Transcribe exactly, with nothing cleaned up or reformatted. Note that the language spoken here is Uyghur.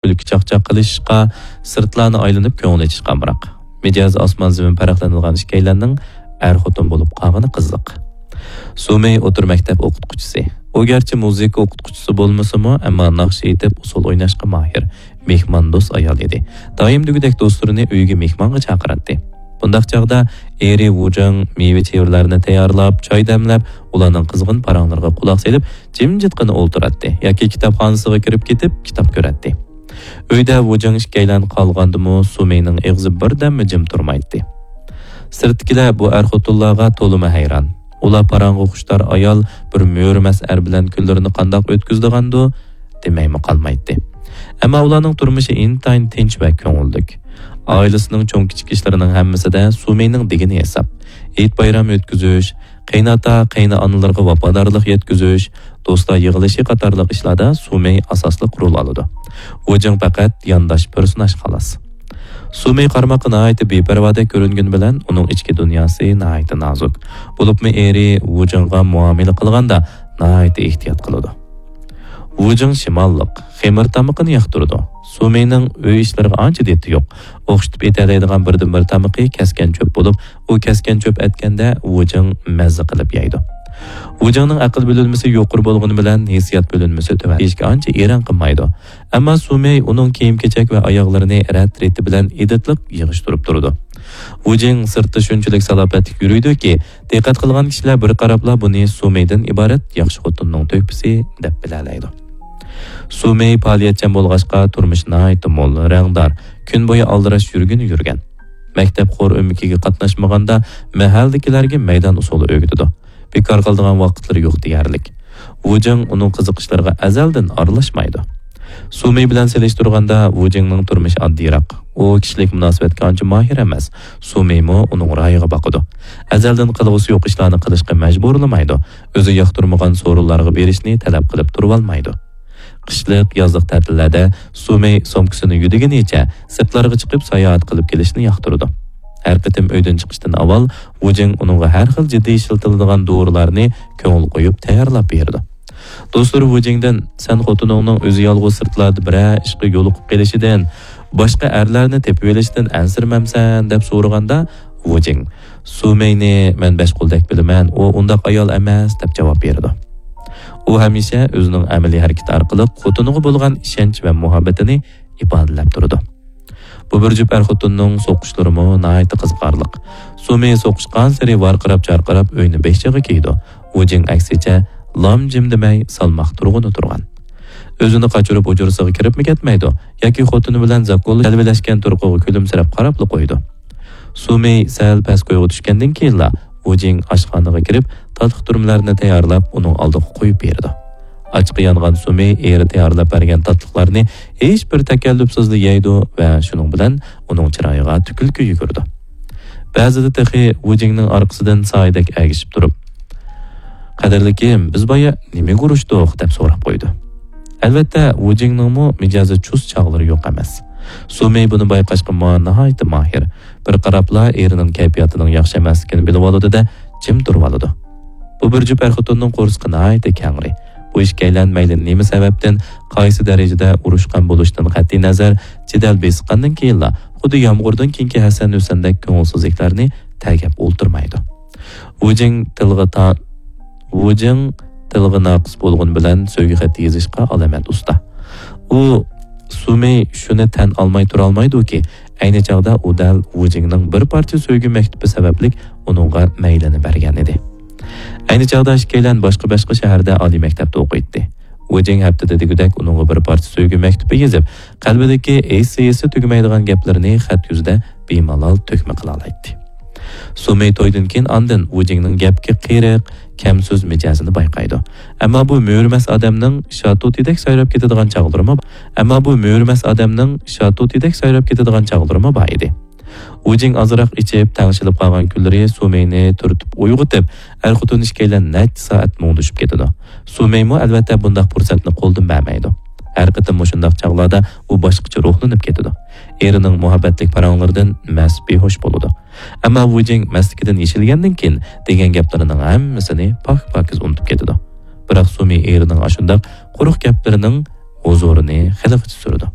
كۈلكە چاقچاق قىلىشىشقا، سىرتلارنى ئايلىنىپ كۆڭۈل ئېچىشقا ئامراق. مىجەزى ئاسمان زېمىن پەرقلىنىدىغان ئىككىيلەننىڭ ئەر-خوتۇن بولۇپ قالغىنى قىزىق. سۇمېي ئوتتۇرا مەكتەپ ئوقۇتقۇچىسى. ئۇ گەرچە مۇزىكا ئوقۇتقۇچىسى بولمىسىمۇ، ئەمما ناخشا ئېيتىپ، ئۇسسۇل ئويناشقا ماھىر، مېھماندوست ئايال ئىدى. دائىم دېگۈدەك دوستلىرىنى ئۆيىگە مېھمانغا چاقىراتتى. بۇنداق چاغدا ئېرى ۋۇجىڭ مېۋە-چېۋىلەرنى تەييارلاپ، چاي دەملەپ، ئۇلارنىڭ قىزغىن پاراڭلىرىغا قۇلاق سېلىپ، جىمجىتقىنا ئولتۇراتتى ياكى كىتابخانىسىغا كىرىپ كېتىپ، كىتاب كۆرەتتى. ئۆيدە ۋۇجىڭ ئىككىيلەن قالغاندىمۇ، سۇمېينىڭ ئېغىزى بىردەممۇ جىم تۇرمايتتى. سىرتتىكىلەر بۇ ئەر-خوتۇنلارغا تولىمۇ ھەيران. ئۇلار پاراڭغا خۇشتار ئايال بىر مۆرىمەس ئەر بىلەن كۈنلىرىنى قانداق ئۆتكۈزىدىغاندۇ دېمەيمۇ قالمايتتى. ئەمما ئۇلارنىڭ تۇرمۇشى ئىنتايىن تىنچ ۋە كۆڭۈللۈك. ئائىلىسىنىڭ چوڭ-كىچىك ئىشلىرىنىڭ ھەممىسىدە سۇمېينىڭ دېگىنى ھېساب. ھېيت-بايرام ئۆتكۈزۈش، قېيىنئاتا، قېيىنئانىلىرىغا ۋاپادارلىق يەتكۈزۈش، دوستلار يىغىلىشى قاتارلىق ئىشلاردا سۇمېي ئاساسلىق رول ئالىدۇ. ۋۇجىڭ پەقەت يانداش پېرسوناژ خالاس. سۇمېي قارىماققا ناھايىتى بىپەرۋادەك كۆرۈنگىنى بىلەن، ئۇنىڭ ئىچكى دۇنياسى ناھايىتى نازۇك. بولۇپمۇ ئېرى ۋۇجىڭغا مۇئامىلە قىلغاندا ناھايىتى ئېھتىيات قىلىدۇ. ۋۇجىڭ شىماللىق، خېمىر تامىقىنى ياقتۇرىدۇ. سۇمېينىڭ ئۆي ئىشلىرىغا ئانچە دىتى يوق. ئوخشىتىپ ئېتەلەيدىغان بىردىنبىر تامىقى كەسكەن چۆپ بولۇپ، ئۇ كەسكەن چۆپ ئەتكەندە ۋۇجىڭ مەززە قىلىپ يەيدۇ. ۋۇجىڭنىڭ ئەقىل بۆلۈنمىسى يۇقىرى بولغىنى بىلەن ھېسسىيات بۆلۈنمىسى تۆۋەن. دېيىشكە ئانچە ئېرەن قىلمايدۇ. ئەمما سۇمېي ئۇنىڭ كىيىم-كېچەك ۋە ئاياغلىرىنى رەت-رېتى بىلەن ئىدىتلىق يىغىشتۇرۇپ تۇرىدۇ. ۋۇجىڭ سىرتتا شۇنچىلىك سالاپەتلىك يۈرىدۇكى، دىققەت قىلغان كىشىلەر بىر قاراپلا بۇنى سۇمېيدىن ئىبارەت ياخشى خوتۇننىڭ تۆھپىسى دەپ بىلەلەيدۇ. سۇمېي پائالىيەتچان بولغاچقا، تۇرمۇشى ناھايىتى مول، رەڭدار، كۈن بويى ئالدىراش يۈرگىنى يۈرگەن. مەكتەپ خور ئۆمىكىگە قاتناشمىغاندا، مەھەللىدىكىلەرگە مەيدان ئۇسسۇلى ئۆگىتىدۇ. بىكار قالىدىغان ۋاقىتلىرى يوق دېيەرلىك. ۋۇجىڭ ئۇنىڭ قىزىقىشلىرىغا ئەزەلدىن ئارىلاشمايدۇ. سۇمېي بىلەن سېلىشتۇرغاندا، ۋۇجىڭنىڭ تۇرمۇشى ئاددىيراق. ئۇ كىشىلىك مۇناسىۋەتكە ئانچە ماھىر ئەمەس. سۇمېيمۇ ئۇنىڭ رايىغا باقىدۇ. ئەزەلدىن قىلغۇسى يوق ئىشلارنى قىلىشقا مەجبۇرلىمايدۇ. ئۆزى ياقتۇرمىغان سورۇنلارغا بېرىشنى تەلەپ قىلىپ تۇرۇۋالمايدۇ. قىشلىق، يازلىق تەتىللەردە سۇمېي سومكىسىنى يۆدىگىنىچە سىرتلارغا چىقىپ ساياھەت قىلىپ كېلىشنى ياقتۇرىدۇ. ھەر قېتىم ئۆيدىن چىقىشتىن ئاۋۋال ۋۇجىڭ ئۇنىڭغا ھەر خىل جىددىي ئىشلىتىلىدىغان دورىلارنى كۆڭۈل قويۇپ تەييارلاپ بېرىدۇ. دوستلىرى ۋۇجىڭدىن، «سەن خوتۇنۇڭنىڭ ئۆزى يالغۇز سىرتلاردا بىرەر ئىشقا يولۇقۇپ قېلىشىدىن، باشقا ئەرلەرنى تېپىۋېلىشىدىن ئەنسىرىمەمسەن؟» دەپ سورىغاندا، ۋۇجىڭ، «سۇمېينى مەن بەش قولدەك بىلىمەن، ئۇ ئۇنداق ئايال ئەمەس» دەپ جاۋاب بېرىدۇ. ئۇ ھەمىشە ئۆزىنىڭ ئەمەلىي ھەرىكىتى ئارقىلىق خوتۇنىغا بولغان ئىشەنچ ۋە مۇھەببىتىنى ئىپادىلەپ تۇرىدۇ. بۇ بىر جۈپ ئەر-خوتۇننىڭ سوقۇشلىرىمۇ ناھايىتى قىزىقارلىق. سۇمېي سوقۇشقانسېرى ۋارقىراپ-جارقىراپ ئۆينى بېشىغا كىيىدۇ. ۋۇجىڭ ئەكسىچە لام-جىم دېمەي سالماق تۇرغىنى تۇرغان. ئۆزىنى قاچۇرۇپ ھۇجرىسىغا كىرىپمۇ كەتمەيدۇ ياكى خوتۇنى بىلەن زاكۇللا جەلۋىلەشكەن تۇرقىغا كۈلۈمسىرەپ قاراپلا قويىدۇ. سۇمېي سەل پەس كويغا چۈشكەندىن كېيىنلا ۋۇجىڭ ئاشخانىغا كىرىپ، تاتلىق تۈرمىلەرنى تەييارلاپ، ئۇنىڭ ئالدىغا قويۇپ بېرىدۇ. ئاچقا يانغان سۇمېي ئېرى تەييارلاپ بەرگەن تاتلىقلارنى ھېچبىر تەكەللۇپسىزلا يەيدۇ ۋە شۇنىڭ بىلەن ئۇنىڭ چىرايىغا تۈكۈلكە يۈگۈرىدۇ. بەزىدە تېخى ۋۇجىڭنىڭ ئارقىسىدىن سايىدەك ئەگىشىپ تۇرۇپ، «قەدىرلىكىم، بىز بايا نېمىگە ئۇرۇشتۇق؟» دەپ سوراپ قويىدۇ. ئەلۋەتتە، ۋۇجىڭنىڭمۇ مىجەزى چۇس چاغلىرى يوق ئەمەس. سۇمېي بۇنى بايقاشقا ما-، ناھايىتى ماھىر. بىر قاراپلا ئېرىنىڭ كەيپىياتىنىڭ ياخشى ئەمەسلىكىنى بىلىۋالىدۇ-دە، جىم تۇرۇۋالىدۇ. بۇ بىر جۈپ ئەر-خوتۇننىڭ قورسىقى ناھايىتى كەڭرى. بۇ ئىككىيلەن مەيلى نېمە سەۋەبتىن، قايسى دەرىجىدە ئۇرۇشقان بولۇشىدىن قەتئىينەزەر، جېدەل بېسىققاندىن كېيىنلا، خۇددى يامغۇردىن كېيىنكى ھەسەن-ھۈسەندەك كۆڭۈلسىزلىكلەرنى تەرگەپ ئولتۇرمايدۇ. ۋۇجىڭ تىلغا تا-، ۋۇجىڭ تىلغا ناقىس بولغىنى بىلەن سۆيگۈ خەت يېزىشقا ئالامەت ئۇستا. ئۇ سۇمېي شۇنى تەن ئالماي تۇرالمايدۇكى، ئەينى چاغدا ئۇ دەل ۋۇجىڭنىڭ بىر پارچە سۆيگۈ مەكتۇپى سەۋەبلىك ئۇنىڭغا مەيلىنى بەرگەن ئىدى. ئەينى چاغدا ئىككىيلەن باشقا-باشقا شەھەردە ئالىي مەكتەپتە ئوقۇيتتى. ۋۇجىڭ ھەپتىدە دېگۈدەك ئۇنىڭغا بىر پارچە سۆيگۈ مەكتۇپى يېزىپ، قەلبىدىكى ھېسسىيسى تۈگىمەيدىغان گەپلىرىنى خەت يۈزىدە بىمالال تۆكمە قىلالايتتى. سۇمېي تويدىن كېيىن ئاندىن ۋۇجىڭنىڭ گەپكە قېرىق، كەمسۆز مىجەزىنى بايقايدۇ. ئەمما بۇ مۆرىمەس ئادەمنىڭ شاتۇتىدەك سايراپ كېتىدىغان چاغلىرىمۇ، ئەمما بۇ مۆرىمەس ئادەمنىڭ شاتۇتىدەك سايراپ كېتىدىغان چاغلىرىمۇ بار ئىدى. ۋۇجىڭ ئازراق ئىچىپ، تەڭشىلىپ قالغان كۈنلىرى سۇمېينى تۈرتۈپ ئويغىتىپ، ئەر-خوتۇن ئىككىيلەن نەچچە سائەت مۇڭدىشىپ كېتىدۇ. سۇمېيمۇ ئەلۋەتتە بۇنداق پۇرسەتنى قولدىن بەرمەيدۇ. ھەر قېتىم مۇشۇنداق چاغلاردا ئۇ باشقىچە روھلىنىپ كېتىدۇ. ئېرىنىڭ مۇھەببەتلىك پاراڭلىرىدىن مەست بىھوش بولىدۇ. ئەمما ۋۇجىڭ مەستلىكىدىن يېشىلگەندىن كېيىن دېگەن گەپلىرىنىڭ ھەممىسىنى پاك-پاكىز ئۇنتۇپ كېتىدۇ. بىراق سۇمېي ئېرىنىڭ ئاشۇنداق قۇرۇق گەپلىرىنىڭ ھۇزۇرىنى خېلىغىچە سۈرىدۇ.